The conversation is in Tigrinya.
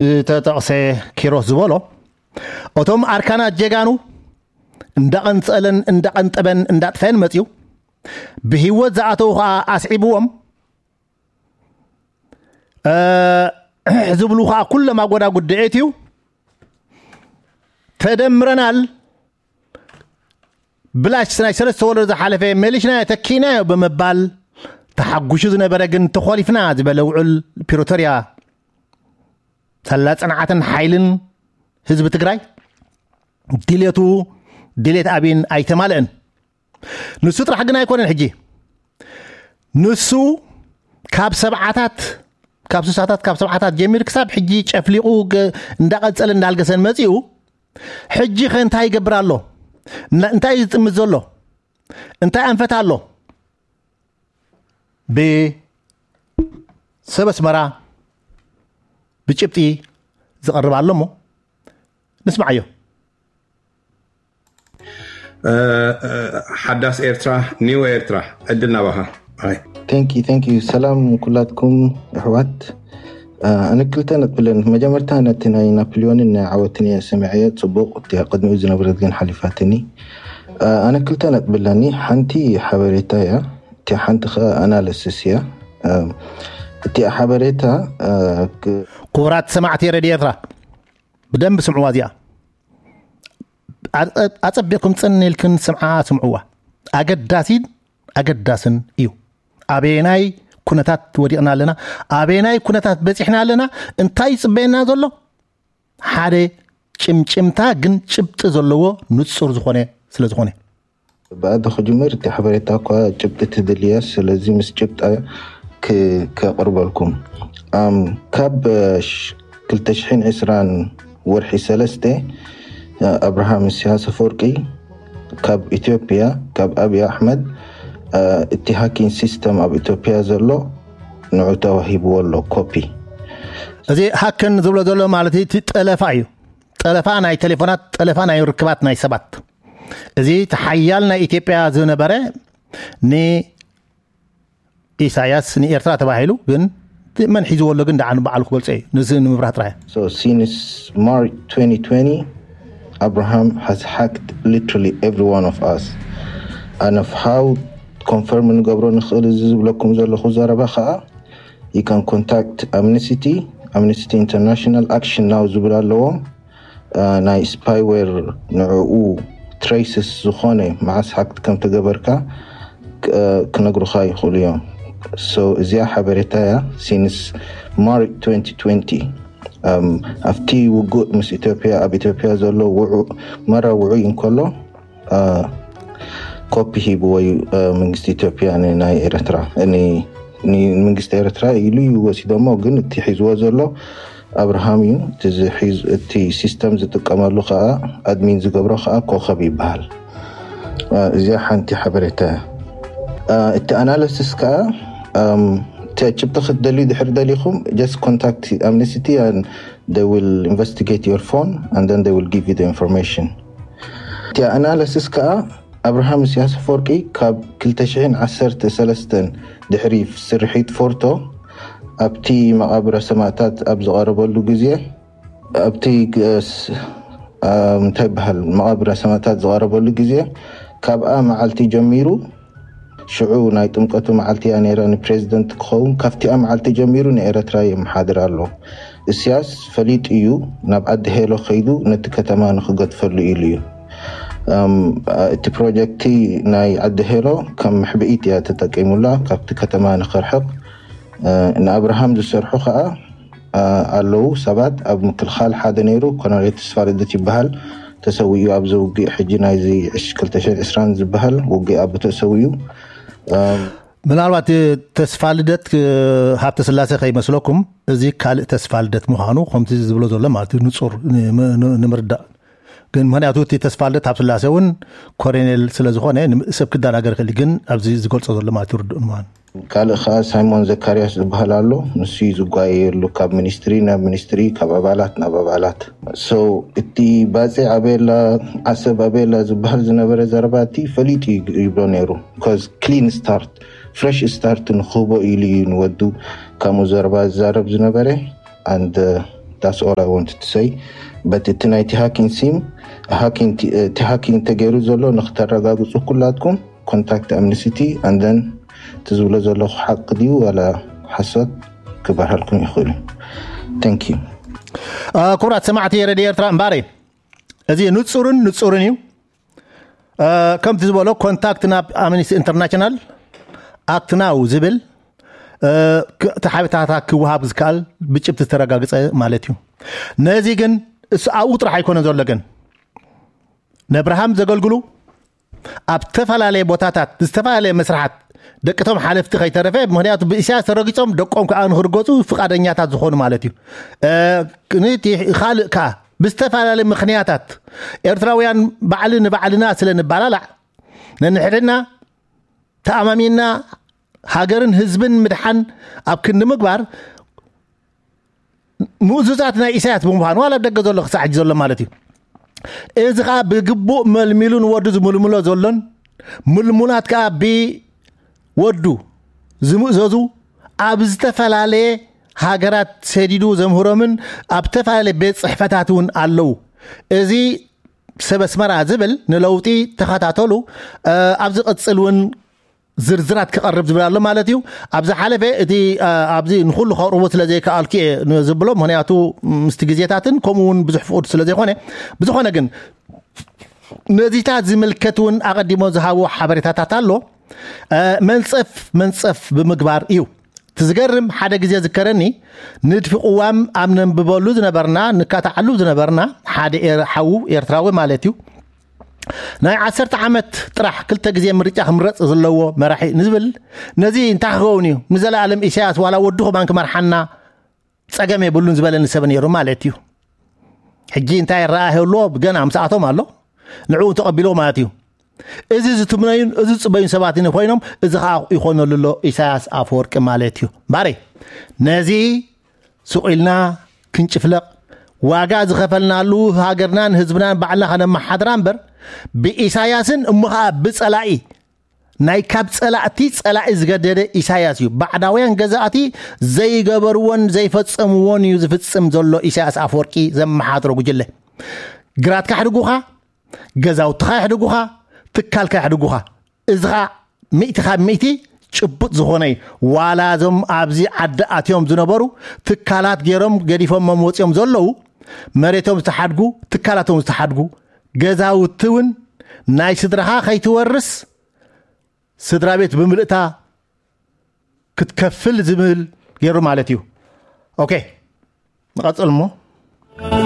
ዝተጠቕሰ ኪሮስ ዝበሎ፣ እቶም ኣርካናት ጀጋኑ እንዳቐንጸለን እንዳቐንጠበን እንዳጥፈን መጽዩ፣ ብህይወት ዝኣተው ኸኣ ኣስዒብዎም፣ እ፣ ዝብሉ ኸኣ ኩሎም ኣጎዳጉድ ድዒት እዩ። ተደምረናል፣ ብላሽ ናይ ሰለስተ ወለዶ ዝሓለፈ መሊሽና ተኪናዮ ብምባል ተሓጉሹ ዝነበረ ግን ተኾሊፍና ዝበለ ውዕል ፕሪቶርያ ሳላ ጽንዓትን ሓይልን ህዝቢ ትግራይ ድሌቱ ድሌት ኣብይን ኣይተማልእን። ንሱ ጥራሕ ግን ኣይኮነን። ሕጂ ንሱ ካብ ሰብዓታት፣ ካብ ስሳታት፣ ካብ ሰብዓታት ጀሚር ክሳብ ሕጂ ጨፍሊቑ ገ-፣ እንዳቐጸለ እንዳልገሰን መጺኡ። ሕጂ ኸ እንታይ ይገብር ኣሎ? እና-፣ እንታይ እዩ ዝጥምት ዘሎ? እንታይ ኣንፈት ኣሎ? ብሰብ ኣስመራ ብጭብጢ ዝቐርብ ኣሎ እሞ ንስማዓዮ። እ፣ እ፣ ሓዳስ ኤርትራ፣ ኒው ኤርትራ፣ ዕድል ናባኻ። ኣይ። Thank you, thank you. ሰላም ኩላትኩም ኣሕዋት። እ፣ ኣነ ክልተ ነጥቢ ኣለኒ። መጀመርታ ነቲ ናይ ናፖሊዮንን ናይ ዓወትን እየ ሰሚዐዮ፣ ጽቡቕ። እቲ ቅድሚኡ ዝነበረት ግን ሓሊፋትኒ። እ፣ ኣነ ክልተ ነጥቢ ኣለኒ። ሓንቲ ሓበሬታ እያ፣ እቲ ሓንቲ ኸ ኣናለሲስ እያ። እ፣ እቲ ሓበሬታ፣ እ፣ ክ- ክቡራት ሰማዕቲ ሬድዮ ኤርትራ፣ ብደንብ ስምዕዋ እዚኣ። ኣጸ-፣ ኣጸቢቕኩም ጽን ኢልክን ስምዓ፣ ስምዕዋ። ኣገዳሲን ኣገዳስን እዩ። ኣበየናይ ኩነታት ወዲቕና ኣለና? ኣበየናይ ኩነታት በጺሕና ኣለና? እንታይ ይጽበየና ዘሎ? ሓደ ጭምጭምታ ግን ጭብጢ ዘለዎ ንጹር ዝኾነ ስለ ዝኾነ። ብኣደ ክጅምር፣ እቲ ሓበሬታ እኳ ጭብጢ ትድልያ፣ ስለዚ ምስ ጭብጣ ክ-፣ ከቕርበልኩም። ኣም፣ ካብ፣ እ፣ ሽ-፣ ክልተ ሽሕን ዕስራን ወርሒ ሰለስተ፣ እ፣ ኣብርሃም ኢሳያስ ኣፈወርቂ ካብ ኢትዮጵያ፣ ካብ ኣብይ ኣሕመድ፣ እ፣ እቲ ሃኪንግ ሲስተም ኣብ ኢትዮጵያ ዘሎ ንዑ ተዋሂብዎ ኣሎ፣ ኮፒ። እዚ ሃክን ዝብሎ ዘሎ ማለት እቲ ጠለፋ እዩ። ጠለፋ ናይ ቴሌፎናት፣ ጠለፋ ናይ ርክባት ናይ ሰባት። እዚ እቲ ሓያል ናይ ኢትዮጵያ ዝነበረ ንኢሳያስ ንኤርትራ ተባሂሉ፣ ግን መን ሒዝዎ ኣሎ ግን ደኣ ንበዓሉ ክገልጾ እዩ። ንዚ ንምብራህ ጥራይ። So since March twenty twenty, Abraham has hacked literally every one of us. And of how confirm ንገብሮ ንኽእል እዚ ዝብለኩም ዘለኹ ዘረባ ኸዓ፣ you can contact Amnesty, Amnesty International Action Now ዝብል ኣለዎም። እ፣ ናይ ስፓይዌር ንዕኡ ትሬስስ ዝኾነ መዓስ ሃክት ከም ተገበርካ ክ-፣ እ፣ ክነግሩኻ ይኽእሉ እዮም። So እዚኣ ሓበሬታ እያ። Since March twenty twenty፣ እም፣ ኣብቲ ውጉእ ምስ ኢትዮጵያ፣ ኣብ ኢትዮጵያ ዘሎ ውዑ-፣ መራ ውዑይ እንከሎ፣ እ፣ ኮፒ ሂብዎ እዩ፣ እ፣ መንግስቲ ኢትዮጵያ ን-፣ ናይ ኤርትራ፣ ን-፣ ን-፣ መንግስቲ ኤርትራ ኢሉ እዩ ወሲዶሞ። ግን እቲ ሒዝዎ ዘሎ ኣብርሃም እዩ። እቲ ዝሒዝ-፣ እቲ ሲስተም ዝጥቀመሉ ከዓ፣ ኣድሚን ዝገብሮ ከዓ ኮኸብ ይበሃል። እ፣ እዚኣ ሓንቲ ሓበሬታ እያ። እ፣ እቲ ኣናሊሲስ ከዓ፣ እም፣ እቲ ጭብጢ ክትደልዩ ድሕሪ ደሊኹም፣ just contact Amnesty and they will investigate your phone and then they will give you the information። እቲ ኣናሊሲስ ከዓ ኣብርሃም ኢሳያስ ኣፈወርቂ ካብ ክልተ ሽሕን ዓሰርተ ሰለስተን ድሕሪ ስርሒት ፎርቶ ኣብቲ መቓብረ ሰማእታት ኣብ ዝቐረበሉ ግዜ፣ ኣብቲ ግ-፣ ስ-፣ እ፣ እንታይ ይበሃል፣ መቓብረ ሰማእታት ዝቐረበሉ ግዜ፣ ካብኣ መዓልቲ ጀሚሩ፣ ሽዑ ናይ ጥምቀቱ መዓልቲ እያ ነይራ፣ ንፕሬዚደንት ክኸውን ካብቲኣ መዓልቲ ጀሚሩ ንኤረትራ የመሓድር ኣሎ። እስያስ ፈሊጡ እዩ ናብ ዓዲ ሄሎ ከይዱ ነቲ ከተማ ንክገድፈሉ ኢሉ እዩ። እም፣ እቲ ፕሮጀክቲ ናይ ዓዲ ሄሎ ከም ምሕብኢት እያ ተጠቂሙላ፣ ካብቲ ከተማ ንክርሕቕ። እ፣ ንኣብርሃም ዝሰርሑ ከዓ፣ እ፣ ኣለዉ ሰባት። ኣብ ምክልኻል ሓደ ነይሩ፣ ኮሎኔል ተስፋ ልደት ይበሃል፣ ተሰዊኡ ኣብዚ ውግእ፣ ሕጂ ናይዚ ዕሽ ክልተ ሽሕን ዕስራን ዝበሃል ውግእ ኣብ ተሰዊኡ። እም፣ ምናልባት ተስፋ ልደት፣ እ፣ ሃብተ ስላሴ ከይመስለኩም፣ እዚ ካልእ ተስፋ ልደት ምዃኑ ከምቲ ዝብሎ ዘሎ ማለት እዩ፣ ንጹር ን-፣ ን-፣ ንምርዳእ። ግን ምኽንያቱ እቲ ተስፋ ልደት ሃብተ ስላሴ እውን ኮሎኔል ስለ ዝኾነ ን-፣ ሰብ ክደናገር ይኽእል እዩ። ግን ኣብዚ ዝገልጾ ዘሎ ማለት እዩ ርዱእ ምዃኑ። ካልእ ከዓ ሳይሞን ዘካርያስ ዝበሃል ኣሎ። ንሱ እዩ ዝጓየየሉ ካብ ሚኒስትሪ ናብ ሚኒስትሪ፣ ካብ ኣባላት ናብ ኣባላት። So እቲ ባጽዕ ኣበየላ፣ ዓሰብ ኣበየላ ዝበሃል ዝነበረ ዘረባ እቲ ፈሊጡ እዩ ይብሎ ነይሩ። Because clean start፣ fresh start ንክህቦ ኢሉ እዩ ንወዱ ከምኡ ዘረባ ዝዛረብ ዝነበረ። And That's all I wanted to say. But እቲ ናይቲ ሃኪንግ ሲም ሃኪንግ እቲ ሃኪንግ ተገይሩ ዘሎ ንክተረጋግፁ ኩላትኩም ኮንታክት ኣምነስቲ ኣንደን እቲ ዝብሎ ዘለኹ ሓቂ ድዩ ዋላ ሓሶት ክበርሃልኩም ይኽእሉ። Thank you። ክቡራት ሰማዕቲ ሬድዮ ኤርትራ እምባረይ፣ እዚ ንጹርን ንጹርን እዩ። ከምቲ ዝበሎ ኮንታክት ናብ ኣምነስቲ ኢንተርናሽናል ኣክት ናው ዝብል ተሓቢታታ ክወሃብ ዝከኣል ብጭብቲ ዝተረጋግፀ ማለት እዩ። ነዚ ግን እሱ ኣብኡ ጥራሕ ኣይኮነ ዘሎ። ግን ነብርሃም ዘገልግሉ ኣብ ዝተፈላለየ ቦታታት ዝተፈላለየ መስርሓት ደቅቶም ሓለፍቲ ከይተረፈ፣ ምክንያቱ ብእስያስ ተረጊጾም ደቆም ከዓ ንክርገፁ ፍቃደኛታት ዝኾኑ ማለት እዩ። እቲ ካልእ ከዓ ብዝተፈላለየ ምክንያታት ኤርትራውያን ባዕሊ ንባዕልና ስለ ንባላላዕ ነንሕድና ተኣማሚና ሃገርን ህዝብን ምድሓን ኣብ ክንዲ ምግባር ምእዙዛት ናይ ኢሳያስ ብምዃኑ ዋላ ደገ ዘሎ ክሳዕ ሕጂ ዘሎ ማለት እዩ። እዚ ከዓ ብግቡእ መልሚሉ ንወዱ ዝምልምሎ ዘሎን ምልሙላት ከዓ ብወዱ ዝምእዘዙ ኣብ ዝተፈላለየ ሃገራት ሰዲዱ ዘምህሮምን ኣብ ዝተፈላለየ ቤት ፅሕፈታት እውን ኣለዉ። እዚ ሰብ ኣስመራ ዝብል ንለውጢ ተኸታተሉ። ኣብ ዝቕፅል እውን ዝርዝራት ክቐርብ ዝብል ኣሎ ማለት እዩ። ኣብ ዝሓለፈ እቲ ኣብዚ ንኩሉ ከቕርቦ ስለ ዘይከኣልኩ እየ ዝብሎ፣ ምክንያቱ ምስቲ ግዜታትን ከምኡ እውን ብዙሕ ፍቁድ ስለ ዘይኮነ። ብዝኾነ ግን ነዚታት ዝምልከት እውን ኣቐዲሞ ዝሃቦ ሓበሬታታት ኣሎ። መንፀፍ መንፀፍ ብምግባር እዩ። እቲ ዝገርም ሓደ ግዜ ዝከረኒ ንድፊ ቅዋም ኣብ ነንብበሉ ዝነበርና ንካታዓሉ ዝነበርና ሓደ ሓዉ ኤርትራዊ ማለት እዩ ናይ ዓሰርተ ዓመት ጥራሕ ክልተ ግዜ ምርጫ ክምረፅ ዘለዎ መራሒ ንዝብል ነዚ እንታይ ክኸውን እዩ ንዘለኣለም ኢሳያስ ዋላ ወዱ ከማን ክመርሓና ፀገም የብሉን ዝበለኒ ሰብ ነይሩ ማለት እዩ። ሕጂ እንታይ ረኣ ህልዎ ብገና ምስኣቶም ኣሎ ንዕኡ ተቐቢሎ ማለት እዩ። እዚ ዝትምነዩን እዚ ዝፅበዩን ሰባት ኮይኖም እዚ ከዓ ይኾነሉ ኣሎ ኢሳያስ ኣፈወርቂ ማለት እዩ። ባሬ ነዚ ስቑ ኢልና ክንጭፍለቕ ዋጋ ዝኸፈልናሉ ሃገርናን ህዝብናን ባዕልና ከነመሓድራ እምበር ብኢሳያስን እሞ ከዓ ብፀላኢ ናይ ካብ ፀላእቲ ፀላኢ ዝገደደ ኢሳያስ እዩ። ባዕዳውያን ገዛእቲ ዘይገበርዎን ዘይፈፀምዎን እዩ ዝፍፅም ዘሎ ኢሳያስ ኣፈወርቂ ዘመሓድሮ ጉጅለ። ግራትካ ሕድጉኻ፣ ገዛውትኻ ይሕድጉኻ፣ ትካልካ ይሕድጉኻ። እዚ ኸዓ ሚእቲ ካብ ሚእቲ ጭቡጥ ዝኾነ እዩ። ዋላ እዞም ኣብዚ ዓዲ ኣትዮም ዝነበሩ ትካላት ገይሮም ገዲፎም መወፂኦም ዘለዉ መሬቶም ዝተሓድጉ ትካላቶም ዝተሓድጉ ገዛውቲ እውን ናይ ስድራኻ ከይትወርስ ስድራ ቤት ብምልእታ ክትከፍል ዝብል ገይሩ ማለት እዩ። ኦኬ ንቐፅል እሞ